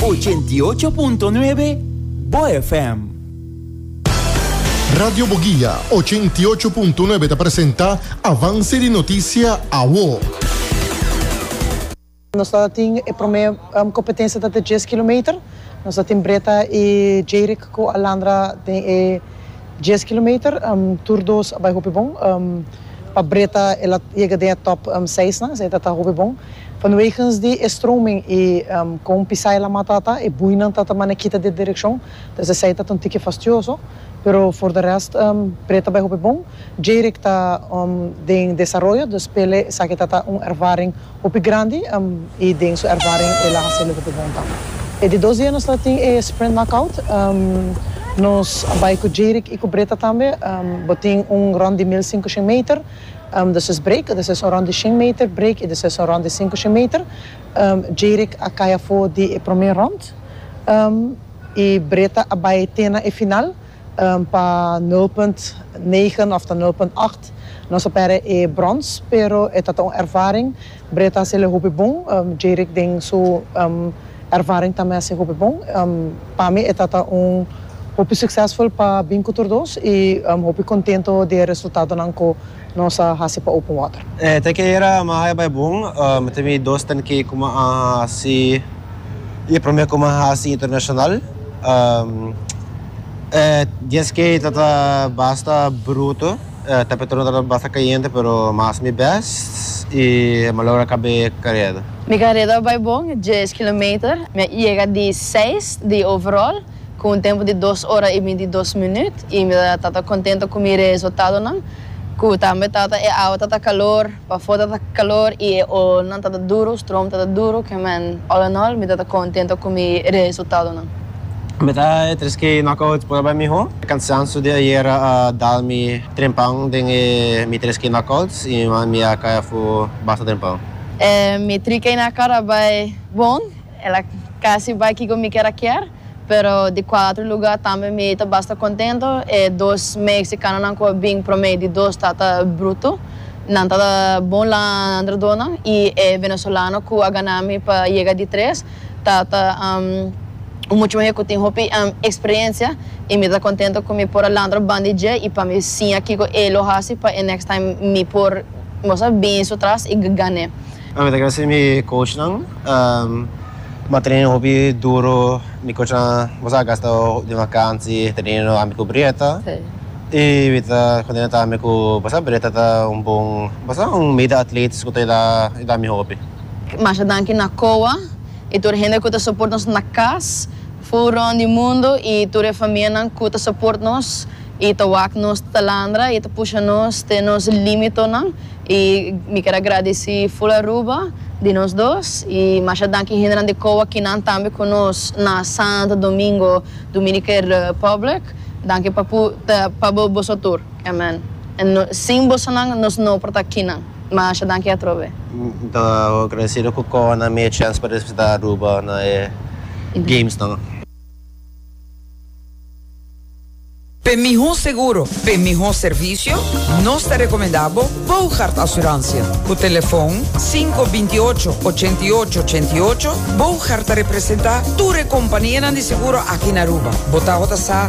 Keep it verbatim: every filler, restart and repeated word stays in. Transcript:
Ochenta i ocho punto nuebe Bo F M. Radio Boguia ochenta i ocho punto nuebe ta presenta Avance di Noticia Awo. Nos tin e prome um, competencia di dies kilometer. Nos tin Breta y Jerick cu a landra den e dies kilometer. Um, tur dos a bay hopi bon. Um, pa Breta el a yega den top um, seis, no? Esey ta hopi bon. Vanwege di stroming y um, con pisa e lama ta e buinan ta mane kita di direccion. Dus esey ta un tiki fastioso. Pero voor de rest, um, Breta a bay hopi bon. Jerick ta um, den desaroyo, dus p'e esaki ta un ervaring hopi grandi um, y den su ervaring el a haci hopi bon tambe. E di dos dia nos tin e sprint knockout. Um, nos a bay cu Jerick y cu Breta tambe. Um, bo tin un rond di mil cinco shen meter. Um, dus is break, dus is un rond di shen meter break y dus is un rond di cinco shen meter. Um, Jerick a cay for di prome rond. Um, y Breta a bay te na e final um, pa nul punt negen of nul punt acht. Nos a perde e brons, pero e ta un ervaring. Breta a haci hopi bon. Um, Jerick den su um, ervaring tambe a haci hopi bon. Um, pa mi e ta un hopi succesvol pa bin cu dos y um, hopi contento di resultado nan cu nos a haci pa open water. Eh, te cu ayera m'a haya bay bon, um, ta mi dos ten K cu m'a haci e prome cu m'a haci internacional. Um, eh, dies K tata basta bruto, eh, temperatura tata basta caliente, pero m'a haci mi best y m'a logra caba careda. Mi careda a bay bon, dies kilometer. Mi a yega di seis di overall, cu un tempo di dos ora y bintidos minuut. Y mi tata contento cu mi resultado nan. Cu tambe tata e awa tata calor, pafo tata calor y o nan tata duro, stroom tata duro, kiermen all in all mi tata contento cu mi resultado nan. Mi ta tres K knockout por bay miho. Cansancio di ayera uh, dal mi trempan den e mi tres K knockouts y mi a cay afo basta trempan. Eh, mi tres K knockout a bay bon, el a casi bay kico mi kier kier, pero di cuater lugar tambe mi ta basta contento. E dos mexicano nan cu bin prome di dos tata bruto. Nan tata bon landradona y e venezolano cu a gana mi pa yega di tres. Tata um, mucho mas cu tin hopi um, experiencia y mi ta contento cu mi por a landra banda di dje y pa mi siña kico e lo haci pa e next time mi por mostra bin su tras y gana. Mi ta gradici mi coach nan. Um, m'a train hopi duro, mi coach nan, bo a gasta di vakantie, train ami cu Breta. Si. Y mi ta contento tambe cu basta Breta ta un bon, basta un mede atleet cu ta da da mi hopi. Mas danki na C O A y tur hende cu ta support nos na cas, for di mundo y tur e famia nan cu ta support nos y ta wak nos ta landra y ta pusha nos te nos limite nan y mi kier gradici full Aruba di nos dos y mas danki hende di C O A cu nan tambe cu nos na Santo Domingo, Dominican Republic. Danki pa pa boso tur. Amen. En no, sin boso nan nos no por ta aki nan. Mas danki atrobe. Ta agradecido cu C O A a duna mi chance pa representa Aruba na eh, games nan. Pe miho seguro, pe miho servicio, nos ta recomenda Bogart Assurantie. Cu telefon cinco binti ocho, ochenta i ocho, ochenta i ocho, Bogart ta representa tur compania di seguro aki na Aruba. Bo ta sa.